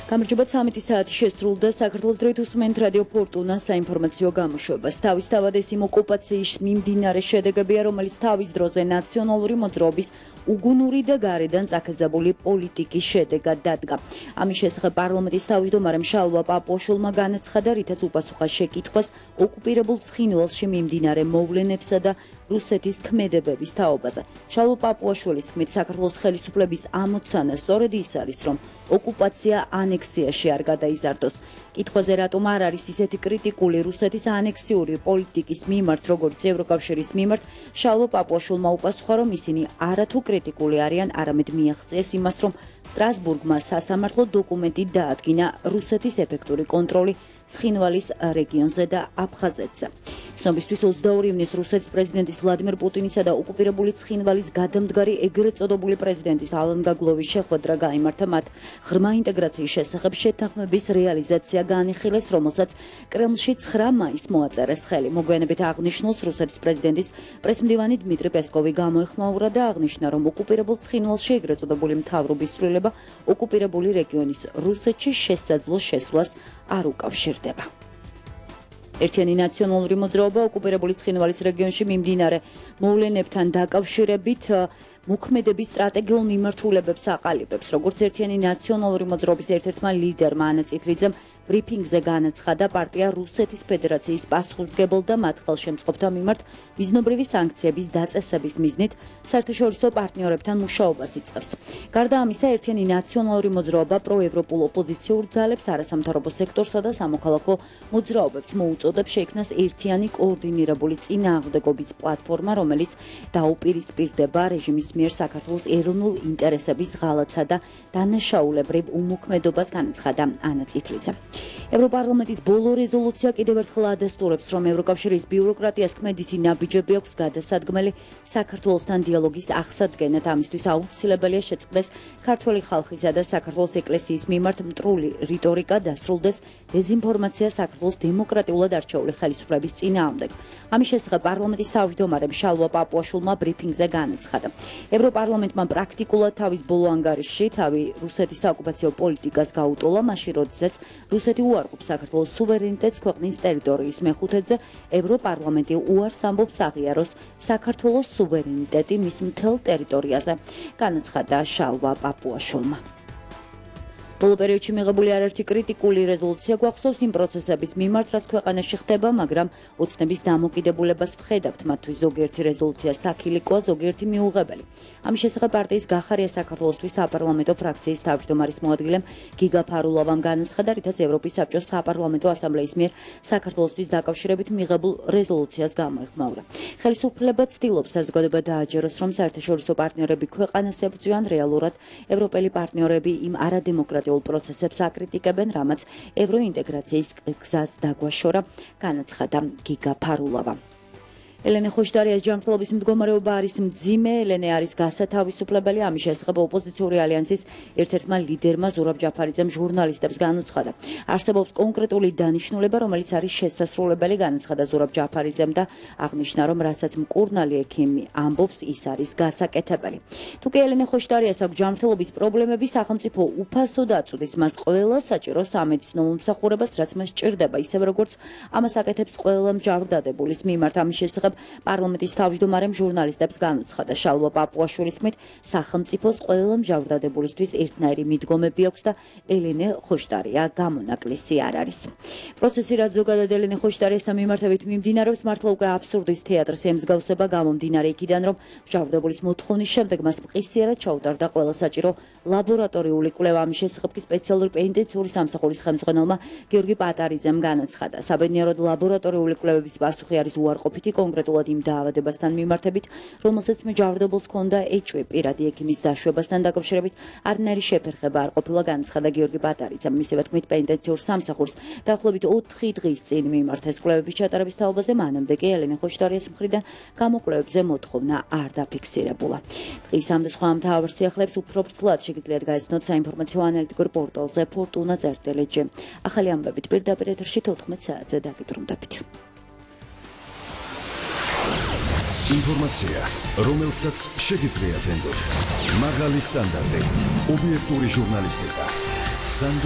გამარჯობა 13 საათი შესრულდა საქართველოს დროით უსმენთ რადიო ფორტუნა საინფორმაციო გამოშვებას. თავისთავად ეს იმ ოკუპაციის მიმდინარე შედეგებია, რომელიც თავის დროზე ნაციონალური მოძრაობის უგუნური და გარედან წაქეზებული პოლიტიკის შედეგად დადგა. ამის შესახებ პარლამენტის თავმჯდომარემ შალვა პაპუაშვილმა განაცხადა, რითაც უპასუხა შეკითხვას ოკუპირებულ ცხინვალში მიმდინარე მოვლენებსა და რუსეთის ქმედებების თაობაზე. შალვა პაპუაშვილის თქმით, საქართველოს ხელისუფლების ამოცანა სწორედ ის არის, რომ ოკუპაცია ანექსიაში არ გადაიზარდოს. კითხვაზე რატომ არ არის ისეთი კრიტიკული რუსეთის ანექსიური პოლიტიკის მიმართ, როგორც ევროკავშირის მიმართ, შალვა პაპუაშვილმა უპასუხა, რომ ისინი არათუ კრიტიკული არიან, არამედ მიაღწიეს იმას, რომ სტრასბურგმა სასამართლო დოკუმენტი დაადგინა რუსეთის ეფექტური კონტროლი ცხინვალის რეგიონზე და აფხაზეთზე. ცნობისთვის 22 ივნისს რუსეთის პრეზიდენტის ვლადიმერ პუტინისა და ოკუპირებული ცხინვალის გადამდგარი ეგრეთ წოდებული პრეზიდენტის ალენ გაგლოვის შეხვედრა გაიმართა მათ ღრმა ინტეგრაციის შესახებ შეთანხმების რეალიზაცია განიხილეს, რომელსაც კრემლში 9 მაისს მოაწერეს ხელი. მოგვიანებით აღნიშნულს რუსეთის პრეზიდენტის პრესმდივანი დმიტრი პესკოვი გამოეხმაურა და აღნიშნა, რომ ოკუპირებულ ცხინვალში ეგრეთ წოდებული მთავრობის ცვლილება ოკუპირებული რეგიონის რუსეთში შესაძლო შესვლას არ უკავშირდება. ერთიანი ნაციონალური მოძრაობა ოკუპირებული ცხინვალის რეგიონში მიმდინარე მოვლენებთან დაკავშირებით მოქმედების სტრატეგიულ მიმართულებებს აყალიბებს. როგორც ერთიანი ნაციონალური მოძრაობის ერთ-ერთმა ლიდერმა ანა წითლიძემ ბრიფინგზე განაცხადა, პარტია რუსეთის ფედერაციის პასუხისმგებელ და მათ ხელშემწყობთა მიმართ მიზნობრივი სანქციების დაწესების მიზნით საერთაშორისო პარტნიორებთან მუშაობას იწყებს. გარდა ამისა, ერთიანი ნაციონალური მოძრაობა პროევროპულ ოპოზიციურ ძალებს, არასამთავრობო სექტორსა და სამოქალაქო მოძრაობებს მოუწოდებს შეიქმნას ერთიანი კოორდინირებული წინააღმდეგობის პლატფორმა, რომელიც დაუპირისპირდება რეჟიმის მიერ საქართველოს ეროვნულ ინტერესების ღალატსა და დანაშაულებრივ უმოქმედობას, განაცხადა ანა წითლიძე. ევროპარლამენტის ბოლო რეზოლუცია კიდევ ერთხელ ადასტურებს, რომ ევროკავშირის ბიუროკრატიას ქმედითი ნაბიჯები აქვს გადასადგმელი საქართველოსთან დიალოგის აღსადგენად. ამისთვის აუცილებელია შეწყდეს ქართველი ხალხისა და საქართველოს ეკლესიის მიმართ მტრული რიტორიკა, დასრულდეს დეზინფორმაცია საქართველოს დემოკრატიულად არჩეული ხელისუფლების წინააღმდეგ. ამის შესახებ პარლამენტის თავმჯდომარემ შალვა პაპუაშვილმა ბრიფინგზე განაცხადა. ევროპარლამენტმა პრაქტიკულად თავის ბოლო ანგარიშში თავი რუსეთის საოკუპაციო პოლიტიკას გაუტოლა, მაშინ როდესაც რუსეთი უარყოფს საქართველოს სუვერენიტეტს ქვეყნის ტერიტორიის მეხუთედზე, ევროპარლამენტი უარს ამბობს აღიაროს საქართველოს სუვერენიტეტი მის მთელ ტერიტორიაზე, განაცხადა შალვა პაპუაშვილმა. ბოლო პერიოდში მიღებული არაერთი კრიტიკული რეზოლუცია გვახსოვს იმ პროცესების მიმართ, რაც ქვეყანაში ხდება, მაგრამ ოცნების დამოკიდებულებას ვხედავთ, მათთვის ზოგიერთი რეზოლუცია საქილიკოა, ზოგიერთი მიუღებელი. ამის შესახებ პარტიის გახარია საქართველოსთვის საპარლამენტო ფრაქციის თავმჯდომარის მოადგილემ გიგა ფარულოვამ განაცხადა, რითაც ევროპის საბჭოს საპარლამენტო ასამბლეის მიერ საქართველოსთვის დაკავშირებით მიღებულ რეზოლუციას გამოეხმაურა. ხელისუფლება ცდილობს საზოგადოება დააჯეროს, რომ საერთაშორისო პარტნიორები ქვეყანას ებრძვიან, რეალურად ევროპელი პარტნიორები იმ არადემოკრატიულ პროცესებს აკრიტიკებენ, რამაც ევროინტეგრაციის გზას დაგვაშორა, განაცხადა გიგა ფარულოვა. ელენე ხოშტარიას ჯანმრთელობის მდგომარეობა არის მძიმე. ელენე არის გასათავისუფლებელი. ამის შესახებ ოპოზიციური ალიანსის ერთ-ერთმა ლიდერმა ზურაბ ჯაფარიძემ ჟურნალისტებს განუცხადა. არსებობს კონკრეტული დანიშნულება, რომელიც არის შესასრულებელი, განაცხადა ზურაბ ჯაფარიძემ და აღნიშნა, რომ რასაც მკურნალი ექიმი ამბობს, ის არის გასაკეთებელი. თუკი ელენე ხოშტარიას აქვს ჯანმრთელობის პრობლემები, სახელმწიფო უფასოდ აწვდის მას ყველა საჭირო სამედიცინო მომსახურებას, რაც მას სჭირდება, ისევე როგორც ამას აკეთებს ყველა მჟავრდადებულის მიმართ. ამის შესახებ პარლამენტის თავმჯდომარემ ჟურნალისტებს განუცხადა. შალვა პაპუაშვილის თქმით, სახელმწიფოს ყველა მჟავრდადებულისთვის ერთნაირი მიდგომები აქვს და ელენე ხოშტარია გამონაკლისი არ არის. პროცესი, რაც ზოგადად ელენე ხოშტარიასთან მიმართებით მიმდინარეობს, მართლა უკვე აბსურდის თეატრს ემსგავსება, გამომდინარე იქიდან, რომ მჟავრდადებულის მოთხოვნის შემდეგ მას მყისიერად ჩაუტარდა ყველა საჭირო ლაბორატორიული კვლევა. ამის შესახებ კი სპეციალური პენიტენციური სამსახურის ხელმძღვანელმა გიორგი პატარიძემ განაცხადა. საბედნიეროდ ლაბორატორიული კვლევების პასუხი არის უარყოფითი, კონკრეტულად იმ დაავადებასთან მიმართებით, რომელსაც მჟავრდებულს ჰქონდა ეჭვი. პირადი ექიმის დაშვებასთან დაკავშირებით არნაირი შეფერხება არ ყოფილა, განაცხადა გიორგი პატარიძემ. მისივე თქმით, პენიტენციურ სამსახურს დაახლოებით 4 დღის წინ მიმართეს კვლევების ჩატარების თაობაზე, მანამდე კი ელენე ხოშტარიას მხრიდან გამოკვლევებზე მოთხოვნა არ დაფიქსირებულა. დღის ამ და სხვა მთავარ სიახლეებს უფრო ვრცლად შეგიძლიათ გაიცნოთ საინფორმაციო ანალიტიკურ პორტალზე fortuna.lg. ახალი ამბებით პირდაპირ ეთერში 14 საათზე დაგიბრუნდებით. ინფორმაცია, რომელსაც შეგიძლიათ ენდოთ. მაღალი სტანდარტი, ობიექტური ჟურნალისტიკა. სანდო